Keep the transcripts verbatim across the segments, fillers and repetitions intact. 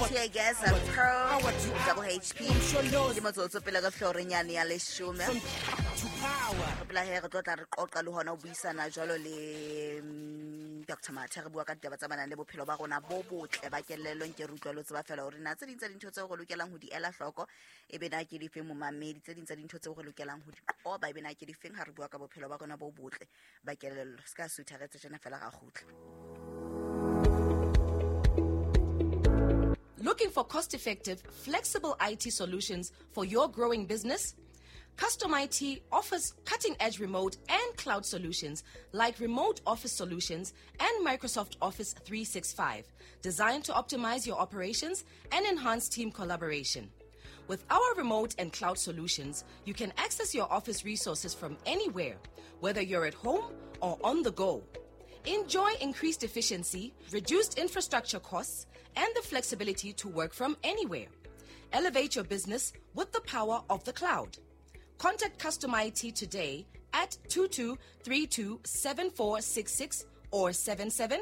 Tear Gas Pearl Double H P ke motsotso pele ka florenyane ya leshome. Re pela he re tlo tla re qoqa le hona ho buisana jwalo le Doctor Mathe, re bua ka ditaba tsa manang le bophelo ba rona bo botle ba kelello. Nke re utlwa lo tseba fela hore na tse ding tsa dintho tseo re lokelang ho di ela hloko e be na ke difeng momamedi, tse ding tsa dintho tseo re lokelang ho di qoba e be na ke difeng ha re bua ka bophelo ba rona bo botle ba kelello. Se ka sutha re tse tjena fela ra kgutla. Looking for cost-effective, flexible I T solutions for your growing business? Custom I T offers cutting-edge remote and cloud solutions like remote office solutions and Microsoft Office three sixty-five, designed to optimize your operations and enhance team collaboration. With our remote and cloud solutions, you can access your office resources from anywhere, whether you're at home or on the go. Enjoy increased efficiency, reduced infrastructure costs, and the flexibility to work from anywhere. Elevate your business with the power of the cloud. Contact Custom I T today at two two three two seven four six six or seven seven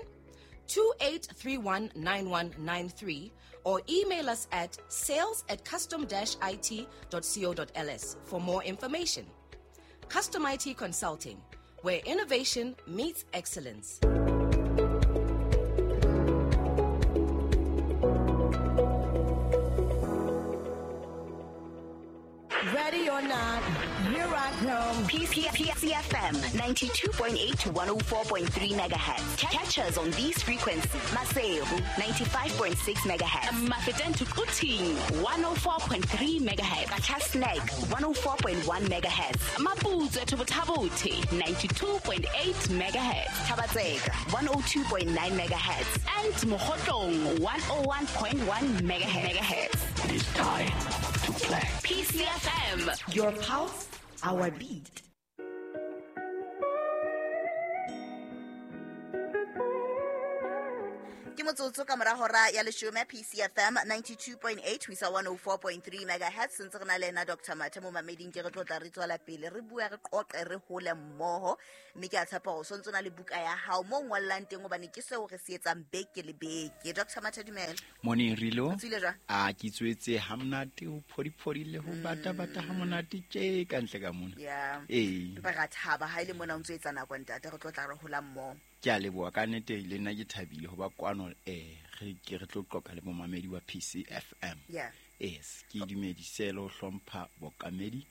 two eight three one nine one nine three or email us at sales at custom dash I T dot co dot L S for more information. Custom I T Consulting, where innovation meets excellence. Ready or not, here I come. P C F M ninety-two point eight to one oh four point three megahertz. Catch us on these frequencies. Maseru ninety-five point six megahertz. Mafeteng to Quthing one oh four point three megahertz. Qacha's one oh four point one megahertz. Maputswe to Botha-Bothe ninety-two point eight megahertz. Thaba-Tseka one oh two point nine megahertz. And Mokhotlong one oh one point one megahertz. It is time to play. P C F M. Your pulse, our beat. Ke motsotso ka mora hora ya leshome, P C F M ninety-two point eight ho isa one oh four point three megahertz. Ntse re na le ena Doctor Mathe mo mameding, ke re tlo tla re tswela pele re bua re qoqe re hole mmoho, mme ke a tshepa hore o sontso na le buka ya hao mo ngollang teng hobane ke seo re se etsang beke le beke. Doctor Mathe, dumela. Morning Rilo. O tswile jwang? A ke tswetse ha monate, ho phodiphodile, ho bata bata ha monate tje ka ntle ka mona. Yeah. Ee. Empa ra thaba ha ile mona o ntso etsa nako ntate, re tlo tla re hola mmoho. Ke a leboha ka nnete, le nna ke thabile ho ba kwano, eh re ke re tlo qoqa le momamedi wa P C F M. Yeah. Yes, ke dumedise le ho hlompha bokamedi,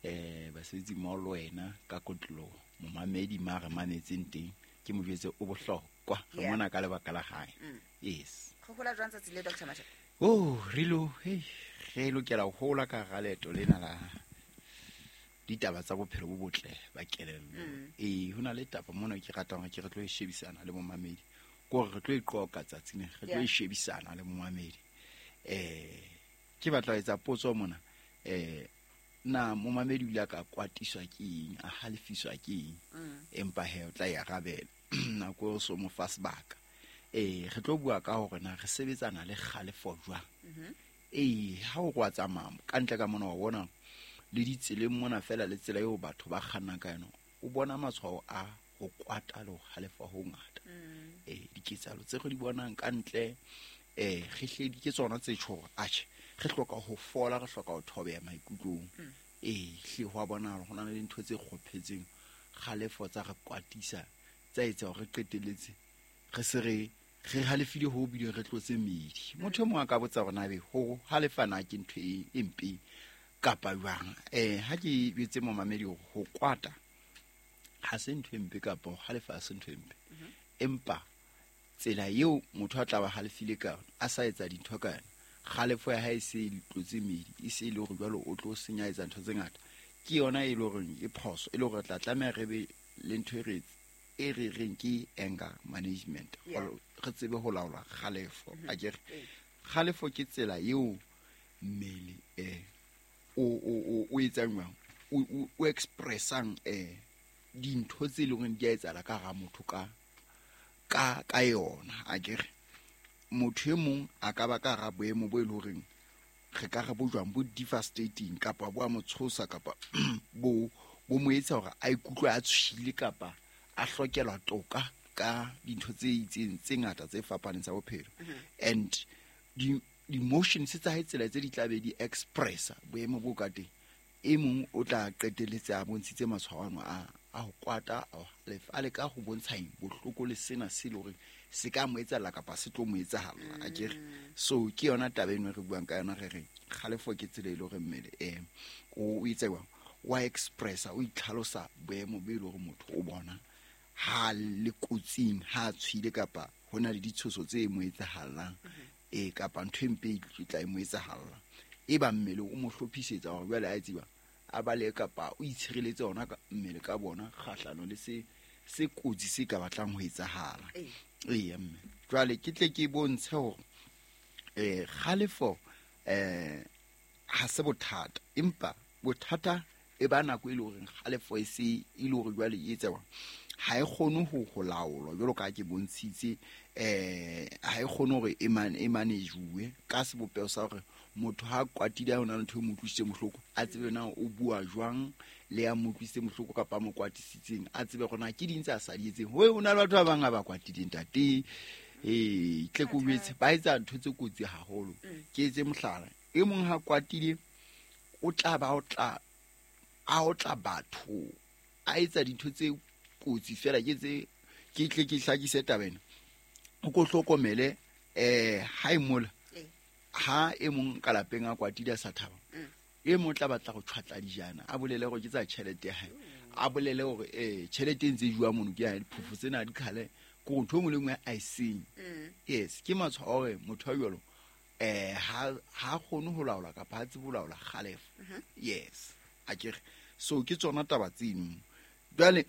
eh basebetsi mmoho le wena ka kotlo momamedi ma re mametseng teng, ke mo jwetse o bohlokwa re mona ka lebaka la hae. Yes. Go hola jwang tsatsi le Doctor Mathe? Oh, Rilo, hey, re lokela ho hola ka hara leeto lena la ditaba tsa bophelo bo botle ba kelello. Eh hona le taba mona ke ratang hore ke re tlo e shebisana le momamedi, ke hore re tlo e qoqa tsatsing re tlo e shebisana le momamedi. Eh ke batla ho etsa potso mona, eh na momamedi o ile a ka kwatiswa ke eng, a halefiswa ke eng, empa he o tla e arabela nako o so mo fa sebaka. Eh re tlo bua ka hore na re sebetsana le kgalefo jwang. Eh ha o kwa tsamaya ka ntle ka mona wa bona le ditseleng mona fela le tsela eo batho ba kgannang ka yona, o bona matshwao a ho kwata le ho halefa ho ngata. Eh diketsahalo tse re di bonang ka ntle, eh re hledi ke tsona tse tjho hore atjhe re hloka ho fola, re hloka ho thobeha maikutlong. Eh hle ho a bonahala ho na le dintho tse kgophetseng kgalefo tsa re kwatisa, tsa etsa hore re qetelletse re se re re halefile ho bile re tlotse medi. Motho e mong a ka botsa hore na be ho halefana ke ntho e mpe kapa jwang. Eh ha ke betse momamedi ho kwata ha se ntho e mpe kapa ho halefa ha se ntho e mpe, empa tsela eo motho a tla ba halefile ka yona, a sa etsa dintho ka yona, kgalefo ya hae se e tlotse medi, e se e le hore jwalo o tlo senya etsa ntho tse ngata, ke yona e le horeng e phoso, e le hore re tla tlameha re be le ntho e re e re reng ke anger management, re tsebe ho laola kgalefo. Akere kgalefo ke tsela eo mmele eh o o o etsang jwang, o o expressang eh dintho tse leng hore di a etsahala ka hara motho ka ka ka yona. Akere motho e mong a ka ba ka hara boemo bo e leng horeng re ka re bo jwang, bo devastating kapa bo a mo tshosa kapa bo bo mo etsa hore a ikutlwe a tshohile kapa a hlokelwa toka ka dintho tse itseng tse ngata tse fapaneng tsa bophelo. And di di-emotions tsa hae tsela tse di tla be di expressa boemo bo ka teng e mong o tla qetelletse a bontshitse matshwao ano a a ho kwata a ho halefa, a leka ho bontsha eng bohloko le sena se le hore se ka mo etsahalla kapa se tlo mo etsahalla akere. So ke yona taba eno re buang ka yona re re kgalefo ke tsela e le hore mmele eh o o itse jwang wa expressa o itlhalosa boemo bo e le hore motho o bona ha le kotsing ha a tshwile kapa ho na le ditshoso tse mo etsahallang e kapa ntho e mpe e tla e mo etsahalla e ba mmele o mo hlophisetsa hore jwale a tseba a bale kapa o itshireletse ona ka mmele ka bona kgahlano le se se kotsi se ka batlang ho etsahala. Ee mme jwale ke tle ke bontshe hore eh kgalefo eh ha se bothata empa bothata e ba nako e le hore kgalefo e se e le hore jwale e etsa ha e kgone ho ho laolwa jwalo ka ke bontshitse eh ha e kgone hore e man e managewe ka sebopeho sa hore motho ha kwatile ha ona ntho e mo utlwisitse bohloko a tsebe na o bua jwang le ya mo utlwisitse bohloko kapa mo kwatisitseng a tsebe hore na ke ding tse a sa di etseng. Ho ona le batho ba bang ba kwatileng ntate eh tle ko jwetse ba etsa ntho tse kotsi haholo. Ke etse mohlala e mong ha kwatile o tla ba o tla a o tla batho a etsa dintho tse kotsi fela ke tse ke tle ke hlakise taba ena o ko hlokomele eh ha e mola ha e mong ka lapeng a kwatile a sa thaba e mong tla batla go tshwatla dijana a bolele gore ke tsa tšhelete ya hae a bolele gore eh tšhelete e ntse e jwa mono ke ya diphofo tsena di khale ko ntho e nngwe le nngwe a e seng. Yes ke matshwao a hore motho a jwalo eh ha ha kgone ho laola kapa ha tsebe ho laola kgalefo. Yes akere so ke tsona taba tseno. Jwale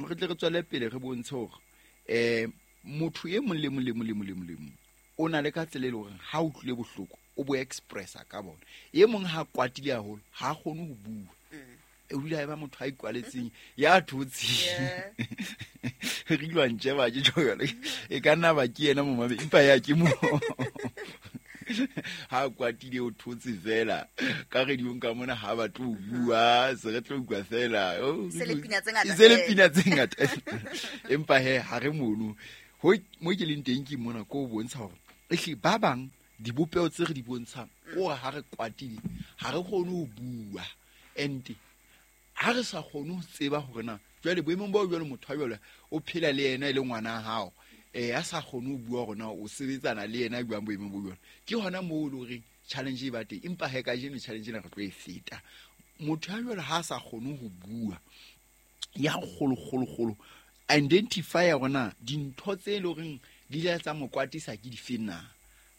re tle re tswele pele re bontshe hore eh motho e mong le mong le mong le mong le mong le mong o na le ka tsela e le hore ha o utlwile bohloko o bo expressa ka bona. E mong ha kwatile haholo ha kgone ho bua e o dula e ba motho a ikwaletseng ya thotseng re ilwantse ba ke jwale e ka nna ba ke yena momabe empa ya ke mo ha kwatile o thotse fela ka radiong ka mona ha ba tlo bua se re tlo utlwa fela se le pina tse ngata se le pina tse ngata empa he ha re mono ho mo ke leng teng ke mona ko bontsha hore ehle ba bang dibopeho tse re di bontshang ko ha re kwatile ha re kgone ho bua and ha re sa kgone ho tseba hore na jwale boemong bo jwale motho a jwale o phela le yena e le ngwana hao eh a sa kgone ho bua hore na o sebetsana le yena jwang boemong bo jwale ke hona moo o le horeng challenge e ba teng empa he kajeno challenge ena re tlo e feta. Motho a jwale ha sa kgone ho bua ya kgolo kgolo kgolo identify hore na dintho tse le horeng di ile tsa mo kwatisa ke dife na.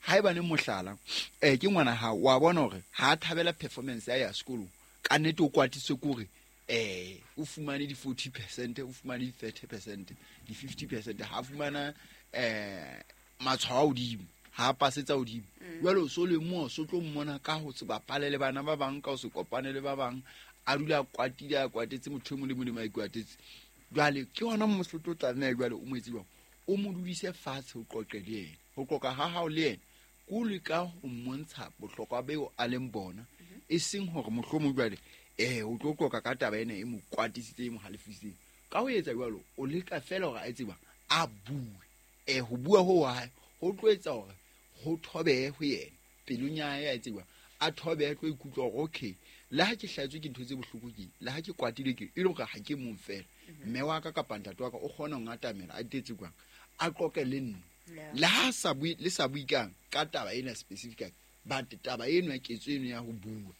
Haebane mohlala eh ke ngwana hao wa bona hore ha thabela performance ya ya sekolong ka nnete o kwatiswe ke hore eh o fumane di forty percent o fumane di thirty percent di fifty percent ha fumana eh matshwao a hodimo ha pasetsa hodimo jwale o so le mo so tlo mmona ka ho se bapale le bana ba bang ka ho se kopane le ba bang a dula kwatile a kwatetse motho e mong le mong le mo a ikwatetse. Jwale ke hona mo se tlo tlameha jwale o mo etse jwang o mo dudise fatshe o qoqe le yena ho qoqa ha hao le yena ko leka ho mmontsha bohlokwa beo a leng bona e seng hore mohlomong jwale eh o tlo qoqa ka taba ena e mo kwatisitse e mo halefisitseng ka ho etsa jwalo o leka fela hore a tseba a bue eh ho bua ho wa hae ho tlo etsa hore ho thobehe ho yena pelong ya hae a tseba a thobehe tlo ikutlwa hore okay le ha ke hlaetswe ke ntho tse bohloko ke le ha ke kwatile ke e le hore ha ke mong fela mme wa ka kapa ntate wa ka o kgona ho ngatamela a tetse kwang a qoqe le nna le ha sa bue le sa bue kang ka taba ena specifically but taba eno ya ketso eno ya ho bua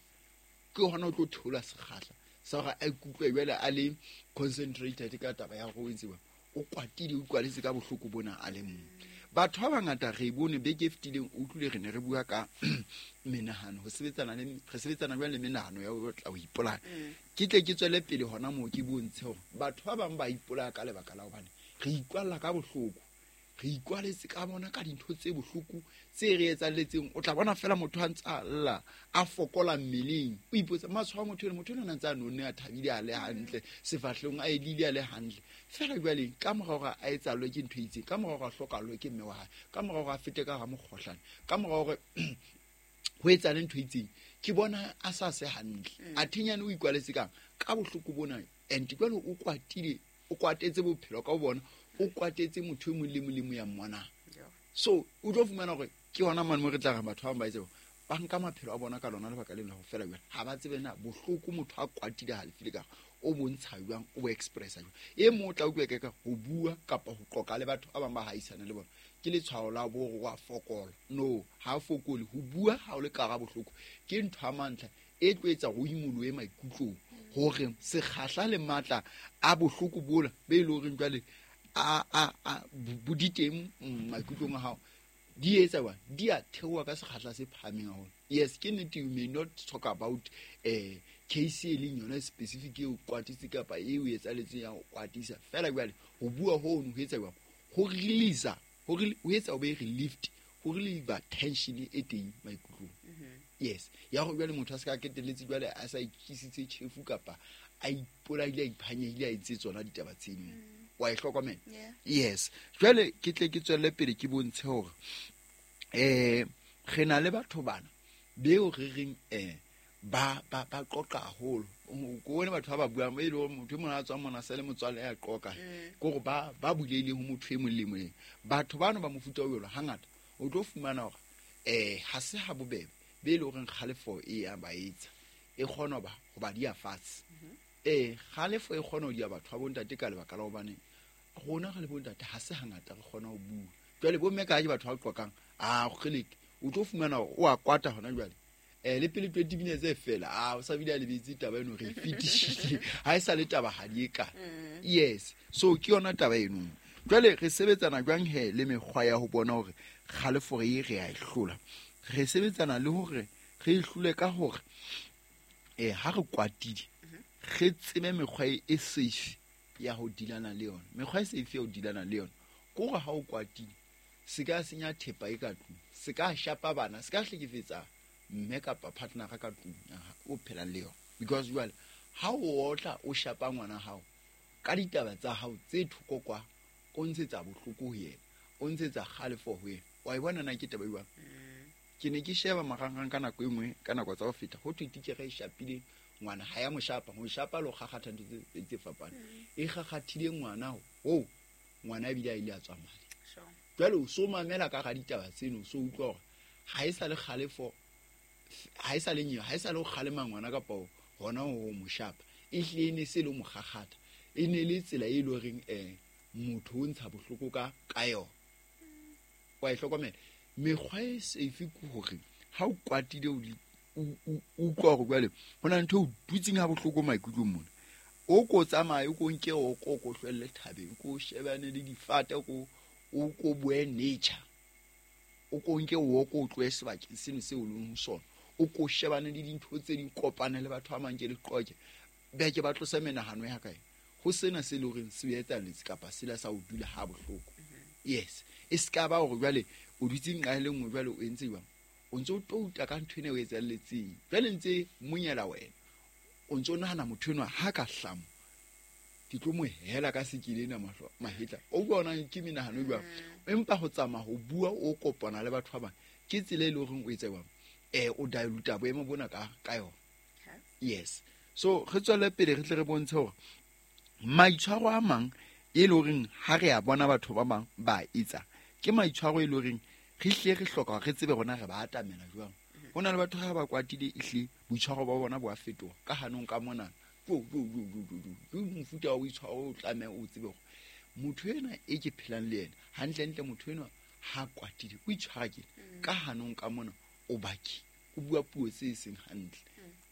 ke hona o tlo thola sekgahla sa hore a ikutlwe jwale a le concentrated ka taba ya hore o etse o kwatile o utlwaletse ka bohloko bona a le mong. Batho ba bangata re bone beke e fetileng o utlwile re ne re bua ka menahano ho sebetsana le re sebetsana jwang le menahano ya ho tla ho ipolaya. Ke tle ke tswele pele hona moo ke bontshe hore batho ba bang ba ipolaya ka lebaka la hobane re ikwalla ka bohloko re ikwaletse ka bona ka dintho tse bohloko tse re etsahalletseng. O tla bona fela motho a ntse a lla a fokola mmeleng o ipotsa matshwao a motho eno motho eno a ntse a nonne a thabile a le hantle sefahlehong a edile a le hantle fela jwale ka mora hore a etsahallwe ke ntho e itseng ka mora hore a hlokahallwe ke mme wa hae ka mora hore a fete ka hara mokgohlane ka mora hore ho etsahale ntho e itseng ke bona a sa se hantle a thenyane o ikwaletse kang ka bohloko bona and jwale o kwatile o kwatetse bophelo ka bona o kwatetse motho e mong le mong le mong ya mmonang. So o tlo fumana hore Ke hona mane mo re tla re batho ba bang ba etse ba nka maphelo a bona ka lona lebaka lena ho fela jwale ha ba tsebe na bohloko motho a kwatile halefile ka o bontsha jwang o bo expressa jwang. E mong o tla utlwa ka ho bua kapa ho qoqa le batho ba bang ba haisana le bona ke letshwao la bo wa fokola. No, ha fokole ho bua ha o le ka ga bohloko ke ntho ya mantlha e tlo etsa go imoloe maikutlong hore sekgahla le matla a bohloko bola be e le horeng jwale a a a boditeng maikutlong a hao di etsa wa di a theoha ka sekgahla se phahameng haholo. Yes, ke nnete, you may not talk about eh case e leng yona specific e o kwatise kapa e o etsaletseng ya ho kwatisa fela jwale ho bua hono ho etsa jwang ho release ho ho etsa o be relieved ho relieve tension e teng maikutlong. Yes, ya go jwale motho a se ka ketelletse jwale a sa ikisitse chefu kapa a ipolaile a iphanyehile a entse tsona ditaba tseno. Wa e hlokomela? Yes. Jwale ke tle ke tswelle pele ke bontshe hore eh re na le batho bana beo re reng eh ba ba ba qoqa haholo. Ko bone batho ba ba buang e le hore motho e mong a tswang mona sele motswalle ya qoqa ke hore ba ba bulehile ho motho e mong le mong. Batho bano ba mofuta o jwalo hangata o tlo fumana hore eh ha se ha bobebe be le horeng kgalefo e ya ba etsa e kgona ba ho ba dia fatshe. Eh kgalefo e kgona ho dia batho ba bontate ka lebaka la hobane rona re le bontate ha se hangata re kgona ho bua. Jwale bo mme ka ke batho ba qoqang a kgeleke o tlo fumana hore o a kwata hona jwale eh le pele twenty minutes e fela a o sa bile a lebetse taba eno re fetishile ha e sa le taba ha di e ka. Yes, so ke yona taba eno. Jwale re sebetsana jwang he le mekgwa ya ho bona hore kgalefo re re a e hlola. Re sebetsana le hore re e hlole ka hore eh ha re kwatile re tsebe mekgwa e safe ya ho dilana le yona. Mekgwa e safe ya ho dilana le yona ke hore ha o kwatile se ka senya thepa e ka tlung, se ka shapa bana, se ka hlekefetsa mme kapa partner ka tlung o phelang le yona. Because jwale ha o otla o shapa ngwana hao ka ditaba tsa hao tse thoko kwa o ntshetsa bohloko ho yena, o ntshetsa kgalefo ho yena. Wa e bona na ke taba e jwang? Ke ne ke sheba marangrang ka nako e nngwe ka nako tsa ho feta ho thwe titjhere e shapile ngwana ha ya mo shapa ho shapa lo kgakgatha ntho tse tse fapaneng e kgakgathile ngwana ho ngwana ebile a ile a tswa madi. Jwale o so mamela ka ga ditaba tseno so utlwa hore ha e sa le kgalefo ha e sa le nyewe ha e sa le ho kgalema ngwana kapa hona ho mo shapa e hlile e ne se le mo kgakgatha e ne le tsela e le horeng eh motho o ntsha bohloko ka ka yona. Wa e hlokomela mekgwa e safe ke hore ha o kwatile o o utlwa hore jwale ho na ntho o dutseng ha bohloko maikutlong mona o ko tsamaye o ko nke o ko ko hlwelle thabeng ko shebane le difate ko o ko bue nature o ko nke o ko tlohe sebakeng seno seo o leng ho sona o ko shebane le dintho tse ding kopane le batho ba mang ke le qoke beke ba tlosa menahano ya kae ho sena se le horeng se etsahalletse kapa sela sa o dula ha bohloko. Yes, e ska ba hore jwale o dutse nqa e le nngwe jwale o entse jwang o ntse o touta ka ntho ena o etsahalletseng jwale ntse monyela wena o ntse o nahana motho enwa ha ka hlamo ke tlo mo hela ka sekile ena mahlo mahetla o bona ke menahano jwang. Empa ho tsamaya ho bua o kopana le batho ba bang ke tsela e le horeng o etsa jwang eh o dilute boemo bona ka ka yona. Yes, so re tswele pele re tle re bontshe hore maitshwaro a mang e le horeng ha re a bona batho ba bang ba etsa ke maitshwaro e le horeng re hle re hloka re tsebe rona re ba atamela jwang. Ho na le batho ha ba kwatile ehle boitshwaro ba bona bo a fetoha ka hanong ka mona jo jo jo jo jo ke mofuta wa boitshwaro o tlameha o tsebe hore motho ena e ke phelang le yena hantlentle motho enwa ha kwatile o itshwara ke ka hanong ka mona o baki o bua puo tse seng hantle.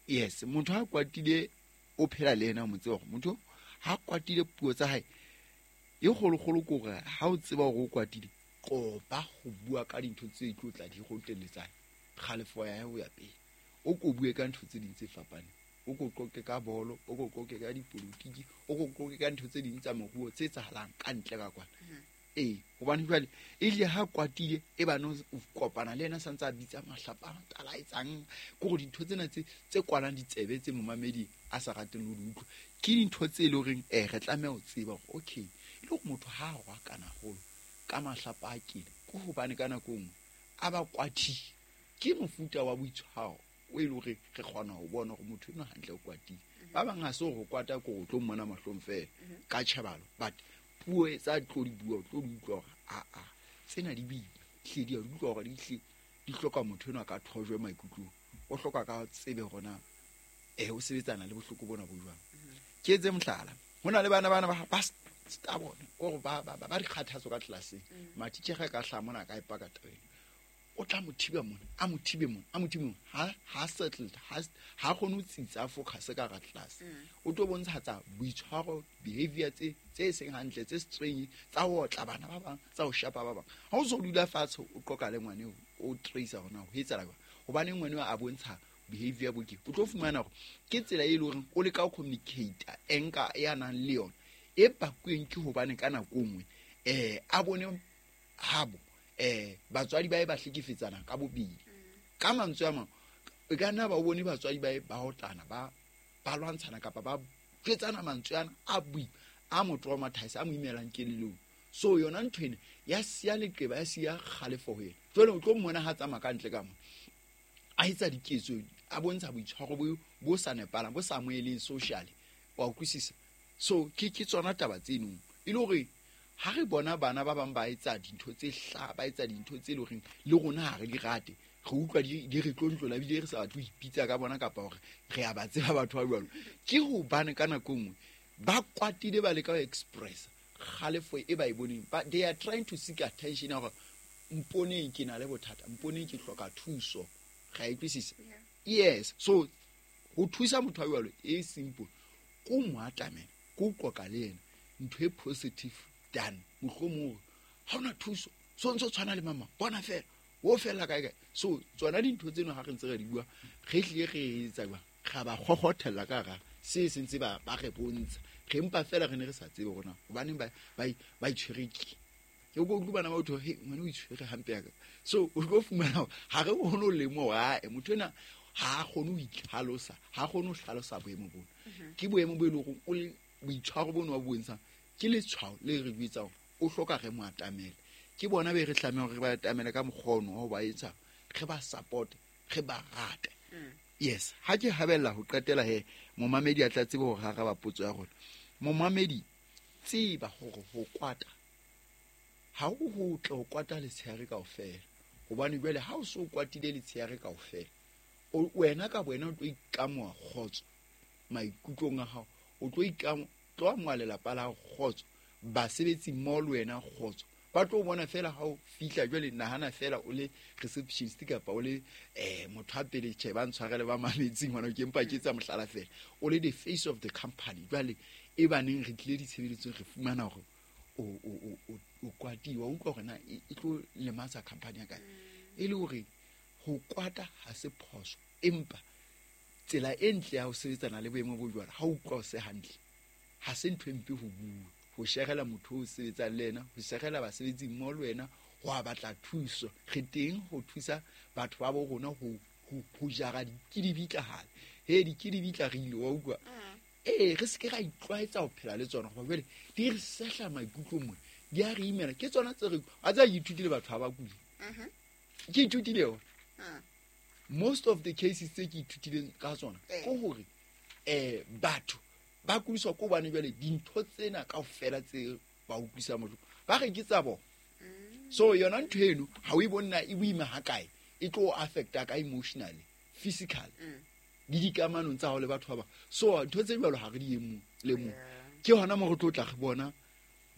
Yes, motho ha kwatile o phela le yena o mo tseba hore motho ha kwatile puo tsa hae e kgolokgolo ke hore ha o tseba hore o kwatile qoba ho bua ka dintho tse tlo tla di go teletsang kgalefo ya hae ho ya pele o ko bue ka ntho tse ding tse fapaneng o ko qoqe ka bolo o ko qoqe ka dipolitiki o ko qoqe ka ntho tse ding tsa moruo tse etsahalang ka ntle ka kwana. Ee, hobane jwale e ile ha kwatile e bane o kopana le yena santse a bitsa mahlapa a tala etsang ke hore dintho tsena tse tse kwalang ditsebe tse momamedi a sa rateng le ho di utlwa ke dintho tse e le horeng eh re tlameha ho tseba hore okay e le hore motho ha a rwa kana haholo ka mahlapa a kile ke hobane ka nako e nngwe a ba kwatile ke mofuta wa boitshwaro o e le hore re kgona ho bona hore motho enwa hantle o kwatile. Ba bang ha se hore ho kwata ke hore o tlo mmona mahlong fela ka tjhebalo but puo tsa tlo di bua o tlo di utlwa hore a a tsena di boima. hle di a utlwa hore di hle di hloka motho enwa ka thojwe maikutlong o hloka ka tsebe hore na eh o sebetsana le bohloko bona bo jwang. Ke etse mohlala, ho na le bana bana ba ba stubborn or ba ba ba dikgathatso ka tlelaseng, matitjhere ka hla mona ka ipaka tabeng, o tla mo thiba mona, a mo thibe mona, a mo thibe mona, ha ha settled, ha ha kgone ho tsitsa focus ka ga class. O tlo bontsha tsa boitshwaro, behavior tse tse seng hantle, tse strange, tsa ho otla bana ba bang, tsa ho shapa ba bang. Ha o so dula fatshe o qoka le ngwane o trace hore na ho etsahala jwang, hobane ngwane a bontsha behavior bo ke o tlo fumana hore ke tsela e leng hore o leka ho communicate enka ya nang le yona e pakweng ke hobane ka nako nngwe eh a bone habo eh batswadi ba e ba hlekefetsana ka bobedi. Ka mantswe a mang e ka nna ba o bone batswadi ba e ba otlana, ba ba lwantshana kapa ba jwetsana mantswe ana a bui a mo traumatize, a mo imelang kelellong. So yona ntho ena ya siya leqeba, ya siya kgalefo ho yena. Jwale o tlo mmona ha tsamaya ka ntle ka mo a etsa diketso, a bontsha boitshwaro bo bo sa nepalang, bo sa amoheleng socially, wa utlwisisa. So ke ke tsona taba tseno e le hore ha re bona bana ba bang ba etsa dintho tse hla, ba etsa dintho tse leng hore le rona ha re di rate, re utlwa di di re tlontlola ebile re sa batle ho ipitsa ka bona kapa hore re a ba tseba batho ba jwalo. Ke hobane ka nako nngwe ba kwatile, ba leka ho express kgalefo e ba e boneng, but they are trying to seek attention hore mponeng ke na le bothata, mponeng ke hloka thuso. Ga e utlwisisa? Yes. So ho thusa motho wa jwalo e simple, ko mo atamela, ko qoqa le yena ntho e positive than mohlomong ha ona thuso, so ntso tshwana le mama bona fela o fela kae kae. So tsona dintho tseno ha re ntse re di bua, re hlile re etsa jwang, ra ba kgokgothella ka hara se sentse ba ba re bontsha, re mpa fela re ne re sa tsebe hore na hobaneng ba ba ba itshwere ke. Ke go utlwa bana ba otho, he ngwana o itshwere hampe ya ka. So o tlo fumana hore ha re kgone ho lemoha, ae motho ena ha a kgone ho itlhalosa, ha a kgone ho hlalosa boemo bona. Ke boemo bo e leng hore o le boitshwaro bono ba bo bontshang ke letshwao le re jwetsang o hloka re mo atamele. Ke bona be re tlameha hore re ba atamele ka mokgwa ono wa ho ba etsa, re ba support, re ba rate. Yes, ha ke habella ho qetela he momamedi a tla tsebe hore ha araba potso ya rona. Momamedi, tseba hore ho kwata ha ho hotle ho kwata letshehare kaofela, hobane jwale ha o so kwatile letshehare kaofela, o wena ka wena o tlo ikamoha kgotso maikutlong a hao, o tlo ikamo tlo amoha lelapa la hao kgotso, basebetsi mmoho le wena kgotso. Ba tlo bona fela ha o fihla jwale, nahana fela o le receptionist kapa o le eh motho a pele, tjhe ba ntshwarele ba mametseng ngwana ke mpa ke etsa mohlala fela, o le the face of the company. Jwale e baneng re tlile ditshebeletsong re fumana hore o o o o kwatiwa, o utlwa hore na e tlo lematsa company ya kae. E le hore ho kwata ha se phoso, empa tsela e ntle ya ho sebetsana le boemo bo jwalo ha o utlwa o se hantle, ha se ntho e mpe ho bua, ho sherela motho o sebetsang le yena, ho sherela basebetsi mmoho le wena, ho a batla thuso. Re teng ho thusa batho ba bo rona ho ho jara dikidibitla hale. He dikidibitla re ile wa utlwa. Ee, re se ke ra itlwaetsa ho phela le tsona, hoba jwale di re sehla maikutlo mona, di a re imela. Ke tsona tse re a tsa ithutile batho ha ba kule. Ke ithutile yona. Most of the cases tse ke ithutileng ka tsona ke hore eh batho ba kudiswa ko bane jwale dintho tsena kaofela tse ba utlwisa motho ba re ke tsa bona. So yona ntho eno ha o e bona e boima ha kae, e tlo affecta ka emotionally, physically, le dikamanong tsa hao le batho ba bang. So ntho tse jwalo ha re di emo le mo ke hona mo re tlo tla re bona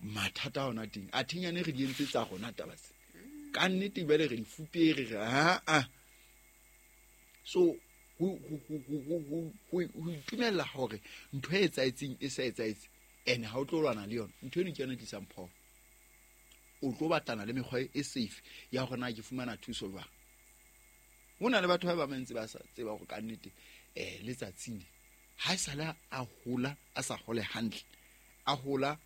mathata a hona teng. A thinyane re di entse tsa rona taba tse ka nnete jwale re di fupere re ha a. So ho ho ho itumella hore ntho e etsahetseng e sa etsahetse ene ha o tlo lwana le yona ntho eno ke yona e tlisang phoso. O tlo batlana le mekgwa e safe ya hore na ke fumana thuso jwang. Ho na le batho ba bang ntse ba sa tseba hore ka nnete eh letsatsing ha e sala a hola a sa hole hantle, a hola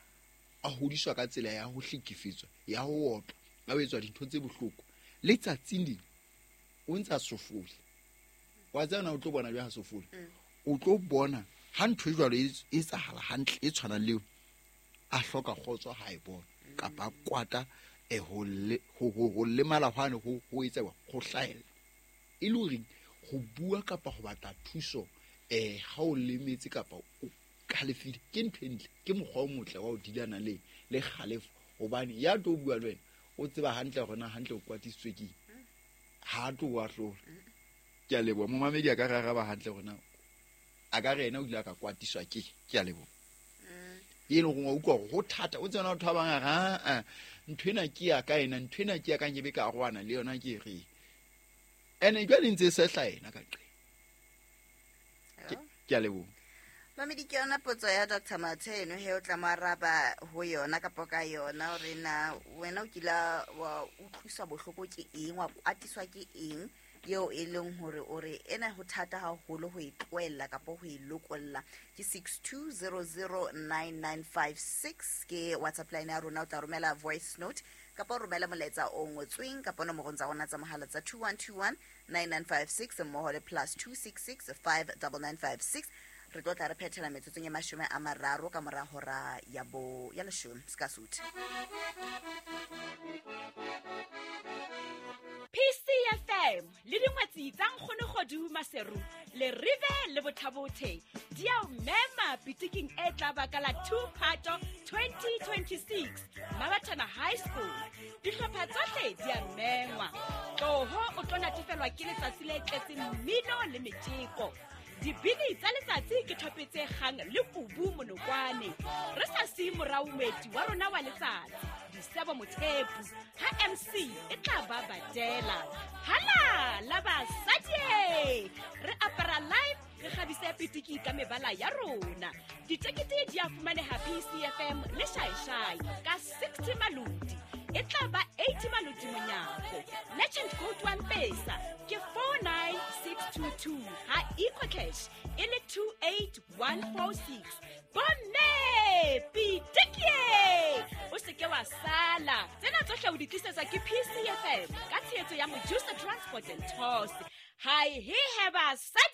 a hodiswa ka tsela ya ho hlekefetswa, ya ho otlwa, a etswa dintho tse bohloko. Letsatsing le o ntsa sofole, wa tsena o tlo bona jwa ha sofole, o tlo bona ha ntho e jwalo e etsahala hantle e tshwanang le a hloka kgotso ha e bona kapa kwata e ho le ho ho lemala hwane ho ho etsa ho hlahella. E le hore ho bua kapa ho batla thuso eh ha o lemetse kapa o kgalefile ke ntho e ntle, ke mokgwa o motle wa ho dilana le le kgalefo, hobane ya tlo bua le wena O tseba hantle hore na hantle o kwatisitswe ke ha tlo wa hlola. Ke a leboha momamedi a ka re araba hantle hore na a ka re yena o ile a ka kwatiswa ke. Ke a leboha. E leng hore wa utlwa hore ho thata o tsena batho ba bang a re a ntho ena ke ya ka ena ntho ena ke ya ka nkebe ka arohana le yona ke re. Ene jwale ntse e sehla yena ka qe. Ke a leboha. Mamedi ke yona potso ya Doctor Mathe eno he o tla mo araba ho yona kapa ka yona hore na wena o kila wa utlwiswa bohloko ke eng, wa kwatiswa ke eng eo e leng hore o re ena ho thata haholo ho e tlohella kapa ho e lokolla. Ke six two zero zero nine nine five six ke WhatsApp line ya rona. O tla romela voice note kapa o romela molaetsa o ngotsweng kapa nomorong tsa rona tsa mohala tsa two one two one nine nine five six mmoho le plus two six six five nine nine five six. Re tlo tla re phethela metsotsong e mashome a mararo ka mora hora ya bo ya leshome ska suthi. P C F M le dingwetsi tsa Nkgono Kgodu Maseru le Rive le Bothabothe di a o mema pitiking e tla baka la two Phato twenty twenty-six Mabathana High School. Dihlopha tsohle di a mengwa. Tloho o tlo natefelwa ke letsatsi le tletseng mmino le metjeko. Dibini tsa letsatsi ke thopetse kgang le kubu monokwane. Re sa siye morao moeti wa rona wa letsatsi Disebo Mothepu ha M C e tla ba badela. Hala la basadi re apara live re kgabise pitiki ka mebala ya rona. Ditekete di a fumaneha P C F M le Shaishai ka sixty malodi. E tla ba eighty malodi monyako. Legend code one pesa ke four nine six two two ha EcoCash e le two eight one four six. Bomme pitiki o se ke wa sala. Tsena tsohle o di tlisetsa ke P C F M ka tshehetso ya Mojusa Transport and Tours. Hi he he basadi.